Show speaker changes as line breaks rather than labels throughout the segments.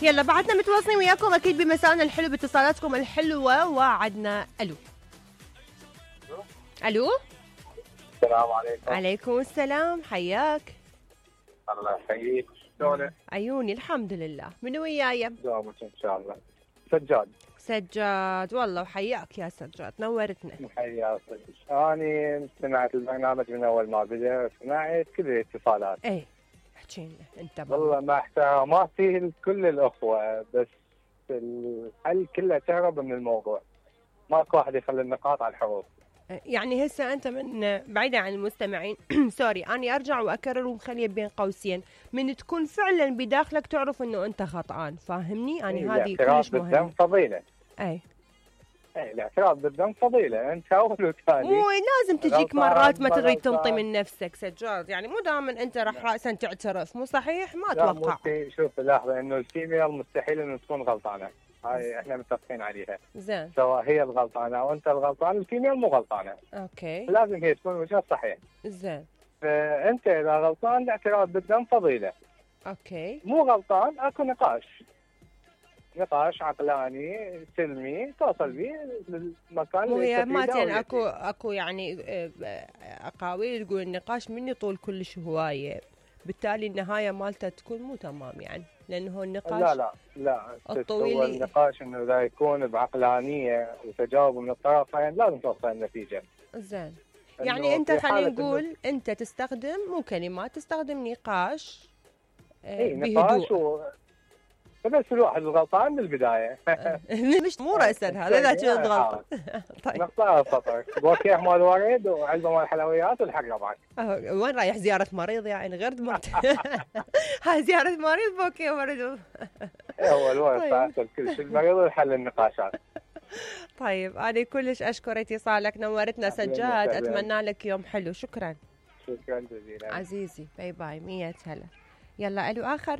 يلا بعدنا متواصلين وياكم اكيد بمسائنا الحلو باتصالاتكم الحلوه. وعدنا الو. الو
السلام عليكم.
عليكم السلام، حياك.
الله يحييك. شلونك؟
عيوني الحمد لله. من وياي؟
دوامك ان شاء الله. سجاد.
سجاد، والله وحياك يا سجاد، نورتنا.
حياك. اني سمعت البرنامج من اول ما بدا، سمعت كل الاتصالات.
ايه احكي لنا انت.
والله مع احتراماتي لكل الاخوه، بس الحل كله تهرب من الموضوع. ماكو واحد يخلي النقاط على الحروف.
يعني هسه انت من بعيدا عن المستمعين سوري، اني ارجع واكرر ومخليه بين قوسين، من تكون فعلا بداخلك تعرف انه انت خطأان، فاهمني؟ يعني هذه كلش مهمه.
بالذنب فضيله.
اي
الاعتراف بالذنب فضيله، انت اول وثاني.
مو لازم تجيك مرات ما تريد تنطي من نفسك سجاد، يعني مو دائما انت راح راسا تعترف، مو صحيح؟ ما اتوقع.
شوف لحظه، انه الفيميل مستحيل انه تكون غلطانه، هاي احنا متفقين عليها.
زين.
سواء هي الغلطانه او انت الغلطان، الفيميل مو غلطانه.
اوكي.
لازم هي تكون وجهها صحيح.
زين.
فانت اذا غلطان الاعتراف بالذنب فضيله.
اوكي.
مو غلطان اكو نقاش عقلاني سلمي توصل به للمكان
اللي هي ماتين. اكو يعني اقاويل تقول النقاش من يطول كلش هوايه، بالتالي النهايه مالته تكون مو تمام، يعني لانه النقاش
لا
الطويل
هو النقاش انه اذا يكون بعقلانيه وتجاوب من الطرفين لازم توصل للنتيجه.
زين. يعني انت خلينا نقول انت تستخدم مو كلمات، تستخدم نقاش بهدوء.
بس الواحد الغلطان من البدايه.
مش مو راسا هذا لا تشوف غلطه.
طيب نقطه سطر بوكيه مال ورد وعلبه مال حلويات والحق معك.
وين رايح؟ زياره مريض يعني غير دمرت. هاي زياره مريض بوكيه ورد.
هو الورد فاصل كل شيء، المريض يحل النقاشات.
طيب انا كلش اشكر اتصالك، نورتنا سجاد، اتمنى لك يوم حلو. شكرا
جزيلا
عزيزي، باي باي. 100 هلا. يلا الو اخر.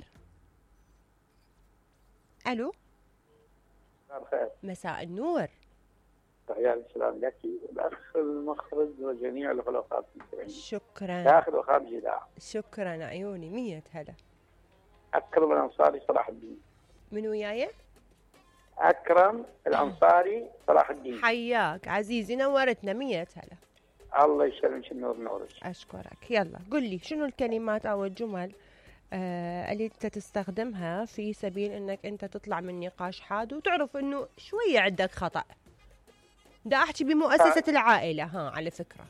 الو.
الخير.
مساء النور.
تحية السلام لك والاخ المخرج وجميع الخلفاء المستمعين.
شكرا.
داخل وخارج الاذاعه.
شكرا عيوني. 100 هلا.
اكرم الانصاري صلاح الدين.
من وياي؟
اكرم الانصاري صلاح الدين.
حياك عزيزي، نورتنا. 100 هلا.
الله يسلمك النور نورك.
اشكرك. يلا قل لي شنو الكلمات او الجمل اللي انت تستخدمها في سبيل انك انت تطلع من نقاش حاد وتعرف انه شويه عندك خطأ. دا احكي بمؤسسة العائلة ها على فكرة.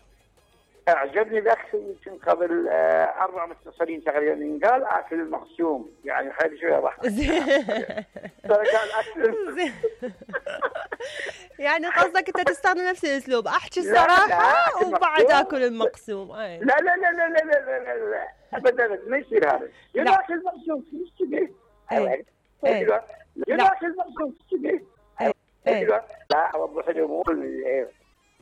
اعجبني الاخ يمكن قبل 4 متصلين تقريبا قال اكل المقسوم، يعني خلي شويه ضحك. قال اكل.
يعني قصدك انت تستخدم نفس الاسلوب، احكي الصراحة وبعد اكل المقسوم.
لا لا لا لا لا لا لا لا ابدا ما يصير هذا. ياكل المقسوم في السجن. ياكل المقسوم في السجن. لا اوضح الامور.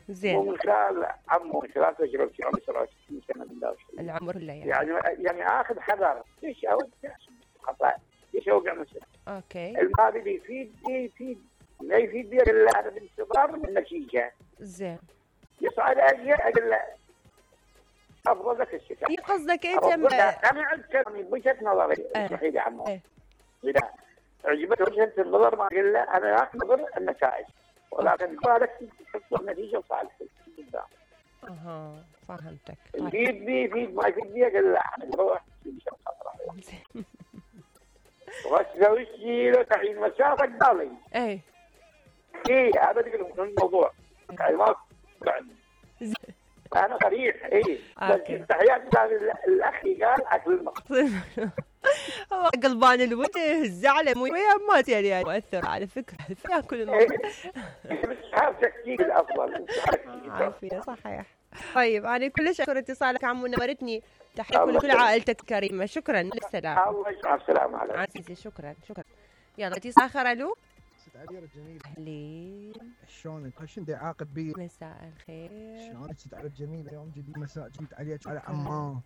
زين.
مو من خلال عمو، من خلال تجربتي عمري 67 سنه بالله.
العمر لا
يعني اخذ حذر. ليش خطا؟ ليش اوقع مثلا؟
اوكي.
الماضي يفيد لا يفيد بي الا انا بالانتظار من النتيجه.
زين.
يصعد اجل افضل لك الشفاء.
قصدك انت
انا عندي وجهه نظري اسمحي يا عمو. اذا عجبت وجهه النظر ما اقول له انا اخذ النتائج، ولكن بالك تحصل النتيجه وصالح.
فهمتك.
يفيد بي ما يفيد بي اقول له روح واسوي شيء له تعيين مسافه قال لي. هذا تقول الموضوع يعني ما انا صريح. بس تحياتي الاخ قال اكل المقسوم.
هو قلبان الوجه الزعله مو ما يعني مؤثر على فكره ياكل المقسوم.
بس هذا تكتيك الافضل.
عافيه صحيح. طيب انا كلش اشكر اتصالك عمو، نورتني. تحية لكل عائلتك الكريمه. شكرا. للسلامه.
الله يسعدك. السلام عليكم
عزيزي. شكرا. يلا اتصال اخر. الو.
عبير الجميل.
اهلين.
شلونك؟ شنو دا عاقد بي؟
مساء الخير.
شلونك ست على الجميل؟ يوم جديد مساء جديد عليك على عمان.